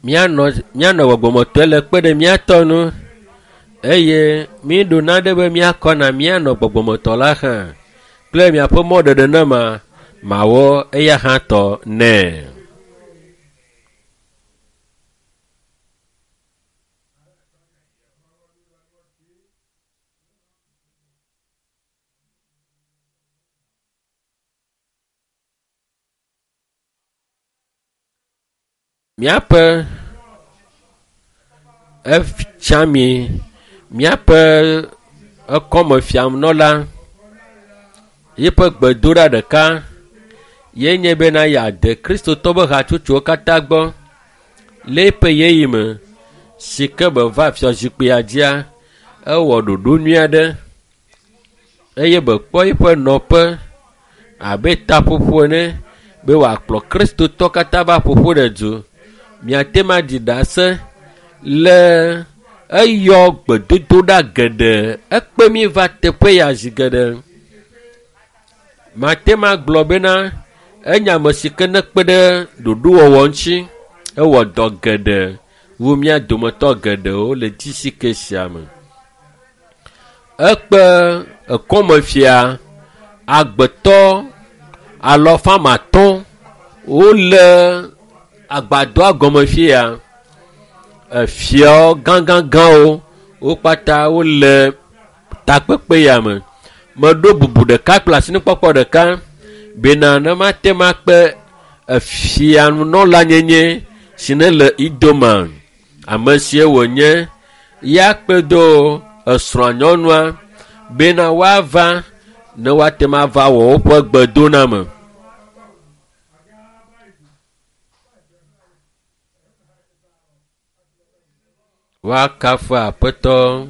Míanɔ míanɔ gbɔgbɔmetɔe le kpe ɖe míatɔ nu eye míɖo naɖe be míakɔ na míanɔ gbɔgbɔmetɔ la hã kple miaƒe mɔɖeɖe ne ma mawɔ eya hã tɔ nɛ. Míaƒe efia mi míaƒe ekɔmefianɔla yiƒe gbedoɖa ɖeka ye nye bena yeade kristotɔ ƒe hatsotsowo katã gbɔ le eƒe ɣeyiɣi me si ke be va fiazikpuia dzia ewɔ ɖoɖo nyui aɖe eye be kpɔ eƒe nɔƒe abe taƒoƒo ene be wòakplɔ kristotɔ katã va ƒoƒo ɖe du. Miate ma ɖi ɖase le eyɔ gbedodoɖa geɖe ekpe mi va teƒe ya zi geɖe. Mate ma gblɔ bena enye ame si ke nekpe ɖe ɖoɖowɔwɔ ŋuti ewɔ dɔ geɖe wu mía dometɔ geɖewo le GCK sia me. Ekpe ekɔmefia agbetɔ alɔfamatɔ̃ wole agbadɔa gɔme fi ya. Efiawo gãgãgãwo wo kpata wole takpekpe ya me. Meɖo bubu ɖeka kple asinukpɔkpɔ ɖeka bena ne mate ma kpe efianunɔla nyenye si ne le Idoma ame sie wònye ya kpe do esrɔ̃a nyɔnua bena woava ne woate ma va wɔ woƒe gbedoname. Woakafu Aƒetɔ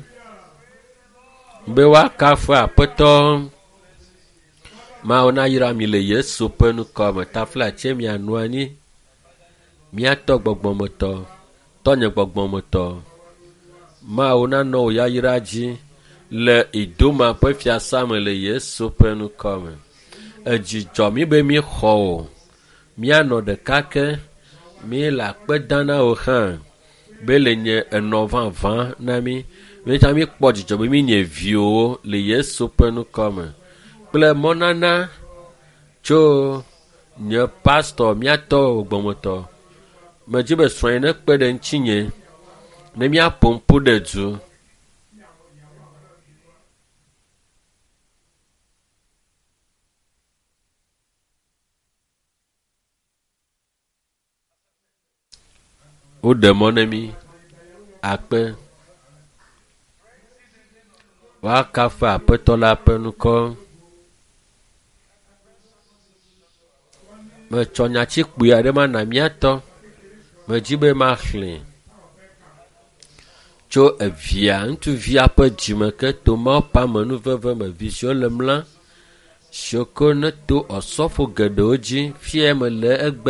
be woakafu Aƒetɔ. Mawu nayra mi le Yesu ƒe ŋkɔ me. Taflatse mianɔ anyi. Míatɔ gbɔgbɔmetɔ, tɔnye gbɔgbɔmetɔ. Mawu nanɔ wò yayra dzi le Idoma ƒe fiasa me le Yesu ƒe ŋkɔ me. Edzi dzɔ mí be míxɔ wò. Míanɔ ɖeka ke. Míele akpe dam na wò hã be le nye enɔ vavã na mí. Míetsã míekpɔ dzidzɔ be míenye viwòwo le Yesu ƒe ŋkɔ me kple mɔnana tso nye pastɔ míatɔ gbɔmetɔ. Medzi be srɔ̃nye nekpe ɖe ŋutinye ne míaƒo ƒu ɖe du. Woɖe mɔ na mí akpe. Woakafu Aƒetɔ la ƒe ŋkɔ. Metsɔ nyati kpui aɖe mana míatɔ. Medzi be maxlẽ tso evia ŋutsuvia ƒe dzime ke to Mawu ƒe amenuveve me vi siwo le mla siwo ke neto osɔfo geɖewo dzi fia me le egbe.